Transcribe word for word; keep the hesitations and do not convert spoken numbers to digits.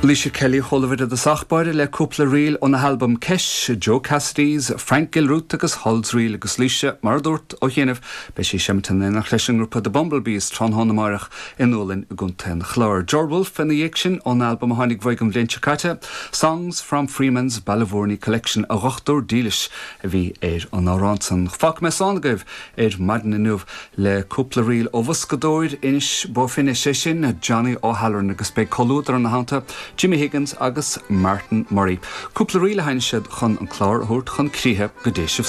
Laoise Kelly chualamar i dtosach báire le cúpla ríl óna halbam Ceis, Joe Cassidy's, Frank Gilruth agus Hull's Reel agus Laoise mar dúirt ó chianaibh beidh sí ag seinm in éineacht leis an ngrúpa The Bumblebees tráthnóna amárach i nDúlainn i gContae an Chláir. George Wolfe ina dhiaidh sin ón albam a tháinig uaidh an bhliain seo caite, Songs from Freeman's Ballyvourney Collection a dhochtúir dílis a bhí ar an amhrán san. Fágfaidh mé slán agaibh ar maidin inniu le cúpla ríl ó bhoscadóir Inis Bó Finne sé sin Johnny O'Halloran agus beidh comhluadar ina theannta Jimmy Higgins agus Martin Murray. Cúpla ríl a sheinnfidh siad chun an clár a thabhairt chun críche go dté sibh